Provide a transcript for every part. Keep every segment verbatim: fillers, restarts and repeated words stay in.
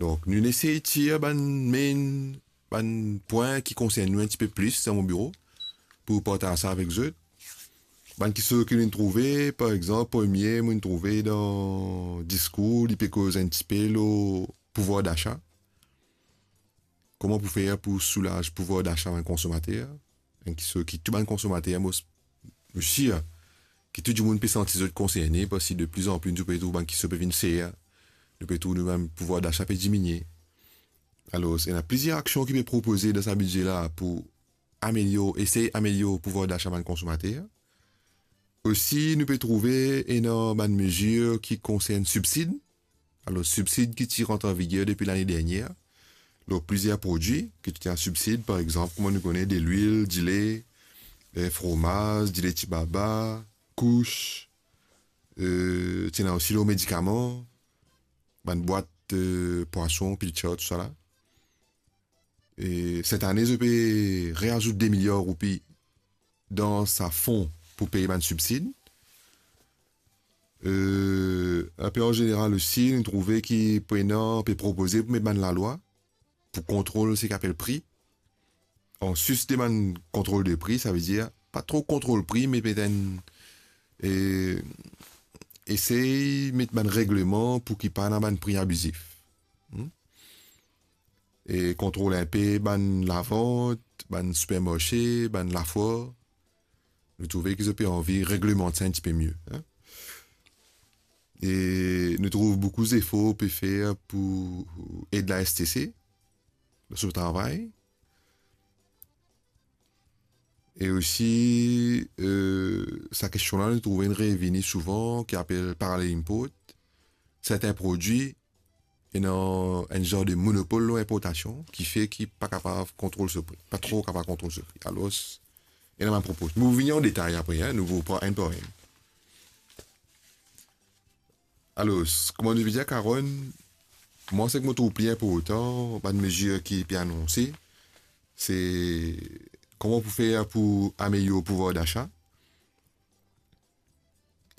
Donk, nou esey tir bann main, bann pwin ki konsern nou enn tipe plis dan mo biro pou partaz sa avek zot. Bann kisoz ki nou trouve, par exanp, premie, mo trouve dan diskour, li pe koz enn tipe lor pouvwar dasa. Kouma pou fer pou soulaz pouvwar dasa bann konsomater? Enn kisoz ki tou bann konsomater, mo, mo sir ki tou dimoun pe santi zot konserne, parski de pli an pli nou pe trouv bann kisoz pe vinn ser, nou pe trouv nou bann pouvwar dasa pe diminie. Alor, ena plizier aksion ki pe propoze dan sa bidze la pou amelyor, esey amelyor pouvwar dasa bann konsomater. Osi, nou pe trouve ena bann mezir ki konsern sibsid. Alor, sibsid ki ti rant an viger depi lane dernier lor plizier prodwi ki ti ena sibsid, par exanp, kouma nou kone, delwil, dile, eh, fromaz, dile tibaba, kous, eh, ti ena osi lor medikaman, bann bwat, eh, pwason, pilchard, tousala. E set ane, zot pe reazout de miliar roupi dan sa fon pou pey bann sibsid. Eh, enpe an zeneral osi, nou trouve ki pou ena, pe propoze pou met bann lalwa pou kontrol seki apel pri. Anplis de bann kontrol de pri, savedir pa tro kontrol pri, me petet, eh, esey met bann regleman pou ki pa ena bann pri abizif. Hmm? E kontrol enpe bann lavant, bann sipermarse, bann lafwar. Nou trouve ki zot pe anvi reglemant sa enn tipe mie, hein? E nou trouv boukou zefor pe fer pou ed la S T C dan so travay. E osi, eh, sa kestion la, nou trouve inn revini souvan, ki apel parallel import. Sertin prodwi ena enn zar de monopol lor inportasion, ki fer ki pa kapav kontrol so pri, pa tro kapav kontrol so pri. Alor, ena bann propoz. Nou vini an detay apre, hein, nou pou pran enn par enn. Alor, kouma nou pe dir, Karonn, mwa, seki mo trouv pli inportan, bann mezir ki pe anonse, se kouma pou fer pou amelyor pouvwar dasa.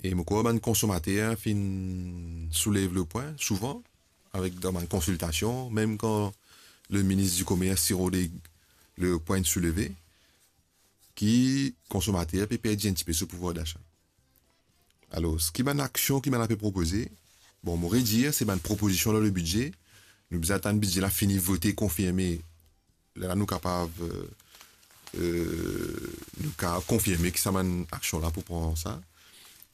E mo krwar bann konsomater finn soulev le pwin souvan, avek dan bann konsiltasion, mem kan le minis di Komers ti rode le pwin souleve, ki konsomater pe perdi enn tipe so pouvwar dasa. Alor, ki bann aksion ki bann la pe propoze? Bon, mo redir, se bann propozision dan le bidze. Nou bizin atann bidze la fini vote, konfirme. Lerla nou kapav, eh, eh, nou kapav konfirme ki sa bann aksion la pou pran sa.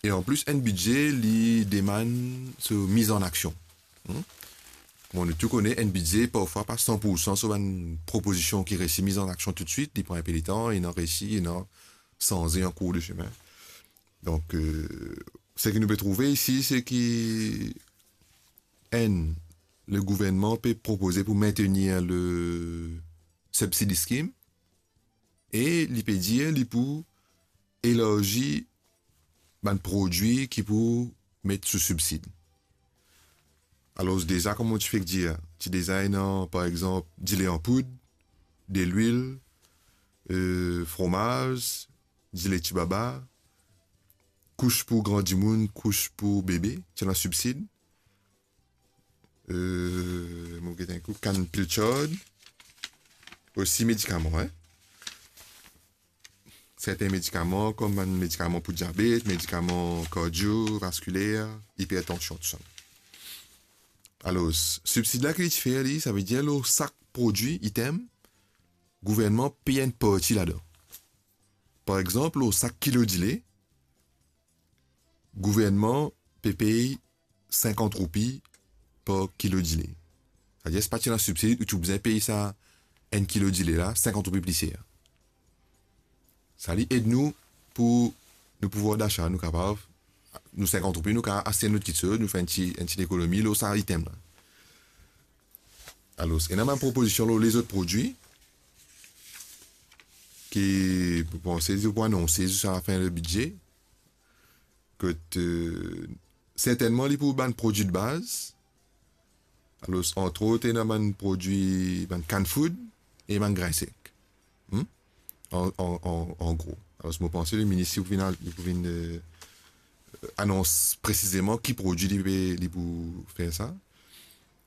E anplis, enn bidze, li demann so miz an aksion. Hmm? Bon, nou tou kone, enn bidze, parfwa pa san pour san so bann propozision ki resi miz an aksion toutswit, li pran enpe letan, ena resi, ena sanze an kour de semin. Donk, eh, seki nou pe trouve isi, se ki enn, le gouvernman pe propoze pou maintenir le subsidy scheme e li pe dir li pou elarzi bann prodwi ki pou met sou sibsid. Alor, deza, kouma mo ti fek dir, ti deza ena, par exanp, dile an poud, delwil, eh, fromaz, dile tibaba, kous pou gran dimoun, kous pou bebe, ti ena sibsid. Eh, mo get enn kou, kann pilchard, osi medikaman, hein. Sertin medikaman, kom bann medikaman pou diabet, medikaman kardio, vaskiler, ipertansion, tousala. Alor, sibsid la ki li ti fer li, savedir lor sak prodwi, item, gouvernman pey enn parti ladan. Par exanp, lor sak kilo dile, gouvernman pe pey sinkant roupi par kilo dile. Savedir, si pa ti ena sibsid, ou ti pou bizin pey sa enn kilo dile la sinkant roupi pli ser. Sa li ed nou pou nou pouvwar dasa, nou kapav, nou sinkant roupi, nou kapav aste enn lot kiksoz, nou fer enn ti, enn ti lekonomi lor sa item la. Alor, ena bann propozision lor lezot prodwi ki, mo panse, zot pou anonse ziska lafin le bidze. Kot, eh, sertennman, li pou bann prodwi de baz. Alor, antrot, ena bann prodwi, bann canned food e bann grin sek. Hmm? An, an, an, an gro. Alor, mo panse le minis li pou vinn al-, li pou vinn, eh, anons presizeman ki prodwi li pe, li pou fer sa.